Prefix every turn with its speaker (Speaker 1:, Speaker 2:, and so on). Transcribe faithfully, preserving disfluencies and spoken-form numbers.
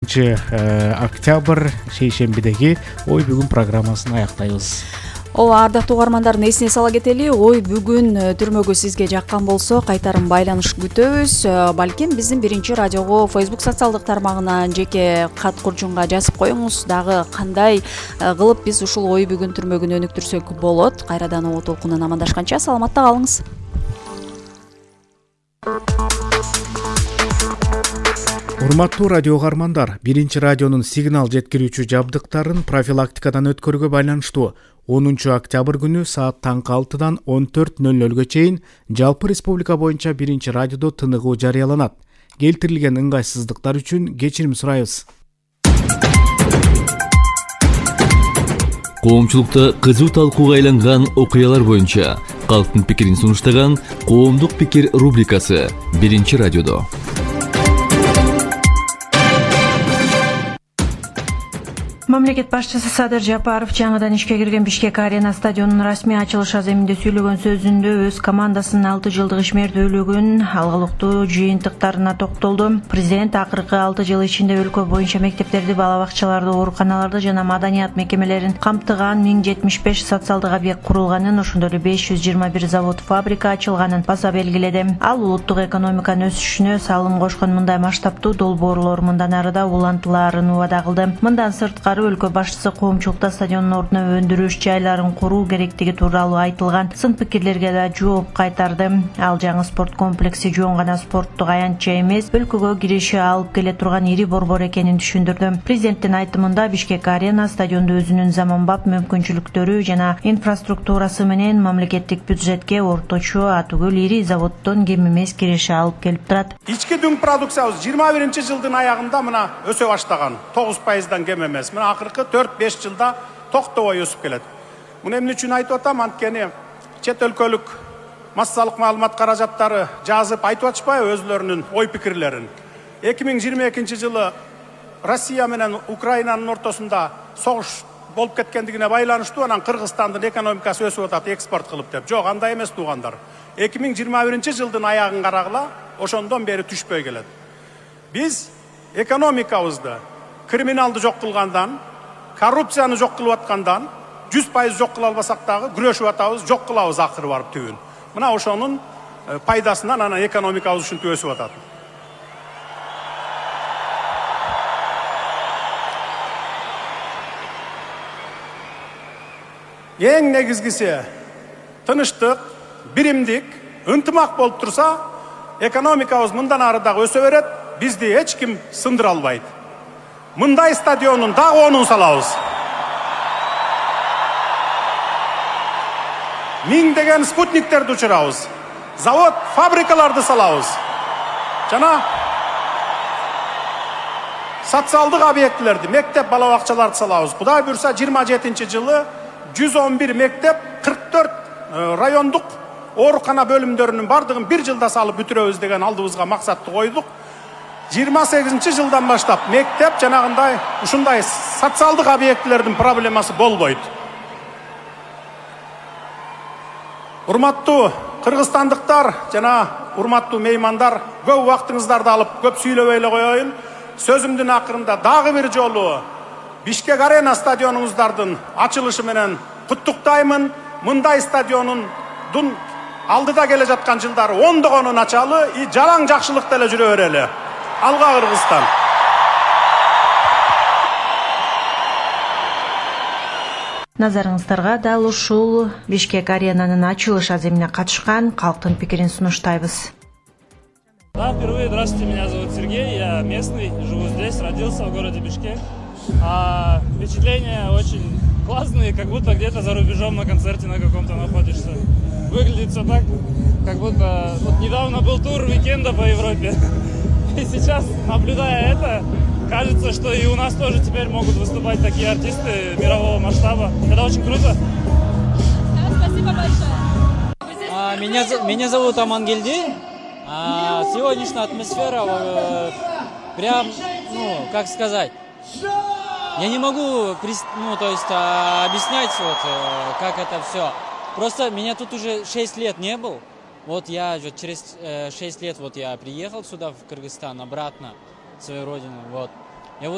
Speaker 1: октябрь шейшембидеги ой бүгүн программасын аяктайбыз.
Speaker 2: Ооба, ардактуу угармандар, эсине сала кетели, ой бүгүн түрмөгү сизге жаккан болсо кайтарым байланыш күтөбүз. Балким биздин биринчи радиого Facebook социалдык тармагына жеке кат курчунга жазып коюңуз. Дагы кандай кылып биз ушул ой бүгүн түрмөгүн өнүктүрсөк болот. Кайрадан оо толкунунан амандашканча саламатта калыңыз.
Speaker 1: Урматтуу радио угармандар, биринчи радионун сигнал жеткирүүчү жабдыктарын профилактикадан өткөрүүгө байланыштуу онунчу октябрь күнү саат таңкы алтыдан он төрт ноль нольго чейин жалпы республика боюнча биринчи радиодо тыныгуу жарыяланат. Келтирилген ыңгайсыздыктар үчүн кечирим сурайбыз.
Speaker 3: Коомчулукта кызуу талкууга айланган окуялар боюнча калктын пикирин сунуштаган Коомдук пикир рубрикасы биринчи радиодо.
Speaker 4: Мамлекет башчысы Садыр Жапаров жаңыдан ишке кирген Бишкек Арена стадионунун расмий ачылыш аземинде сүйлөгөн сөзүндө өз командасынын алты жылдык ишмердүүлүгүн, алгылыктуу жыйынтыктарына токтолду. Президент акыркы алты жыл ичинде өлкө боюнча мектептерди, бала бакчаларды, ооруканаларды жана маданият мекемелерин камтыган миң жетимиш беш социалдык объект курулганын, ошондой эле беш жүз жыйырма бир завод, фабрика ачылганын баса белгиледи. Ал улуттук экономиканын өсүшүнө салым кошкон мындай масштабтуу долбоорлор мындан ары да улантылаарын убада кылды. Мындан сырткары өлкө башчысы коомчулукта стадиондун ордуна өндүрүш жайларын куруу керектиги тууралуу айтылган сын пикирлерге да жооп кайтарды. Ал жаңы спорт комплекси жөн гана спорттук аянтча эмес, өлкөгө киреше алып келе турган ири борбор экенин түшүндүрдү. Президенттин айтымында Бишкек Арена стадионду өзүнүн заманбап мүмкүнчүлүктөрү жана инфраструктурасы менен мамлекеттик бюджетке орточо атүгүл ири заводдон кем эмес киреше алып келип турат.
Speaker 5: Ички дүң продукциябыз жыйырма биринчи жылдын аягында мына өсө баштаган, тогуз пайыздан кем эмес. Мына акыркы төрт беш жылда токтобой өсүп келет. Муну эмне үчүн айтып атам? Анткени чет өлкөлүк массалык маалымат каражаттары жазып айтып атышпайбы өзлөрүнүн ой пикирлерин. эки миң жыйырма экинчи жылы Россия менен Украинанын ортосунда согуш болуп кеткендигине байланыштуу анан Кыргызстандын экономикасы өсүп атат экспорт кылып деп. Жок, андай эмес туугандар. эки миң жыйырма биринчи жылдын аягын карагыла, ошондон бери түшпөй келет. Биз экономикабызды криминалды жок кылгандан, коррупцияны жок кылып аткандан, жүз пайыз жок кыла албасак дагы күрөшүп атабыз, жок кылабыз акыры барып түбүн. Мына ошонун пайдасынан анан экономикабыз ушинтип өсүп атат. Эң негизгиси тынычтык, биримдик, ынтымак болуп турса, экономикабыз мындан ары дагы өсө берет, бизди эч ким сындыра албайт. Мындай стадионун дагы онун салабыз. Миңдеген спутниктерди учурабыз. Завод, фабрикаларды салабыз. Жана социалдык объектилерди, мектеп, бала бакчаларды салабыз. Кудай буйрса жыйырма жетинчи жылы жүз он бир мектеп, кырк төрт райондук оорукана бөлүмдөрүнүн бардыгын бир жылда салып бүтүрөбүз деген алдыбызга максатты койдук. жыйырма сегизинчи жылдан баштап мектеп жанагындай ушундай социалдык объектилердин проблемасы болбойт. Урматтуу кыргызстандыктар жана урматтуу меймандар, көп убактыңыздарды алып көп сүйлөбөй эле коеюн. Сөзүмдүн акырында дагы бир жолу Бишкек Арена стадионуңуздардын ачылышы менен куттуктаймын. Мындай стадионундун алдыда келе жаткан жылдары ондогонун ачалы, и жалаң жакшылыкта эле жүрө берели. Алга Кыргызстан.
Speaker 4: Назарыңыздарга дал ушул Бишкек Аренанын ачылыш аземине катышкан калктын пикирин сунуштайбыз.
Speaker 6: Да, впервые, здравствуйте, меня зовут Сергей, я местный, живу здесь, родился в городе Бишкек. А впечатления очень классные, как будто где-то за рубежом на концерте на каком-то находишься. Выглядит все так, как будто вот недавно был тур уикенда по Европе. И сейчас, наблюдая это, кажется, что и у нас тоже теперь могут выступать такие артисты мирового масштаба. Это очень круто.
Speaker 7: Да, спасибо большое.
Speaker 8: А, меня, меня зовут Амангельди. А, сегодняшняя атмосфера, э, прям, ну, как сказать, я не могу, ну, то есть, а, объяснять, вот, э, как это все. Просто меня тут уже шесть лет не был. Вот я через шесть лет вот я приехал сюда, в Кыргызстан, обратно, в свою родину, вот.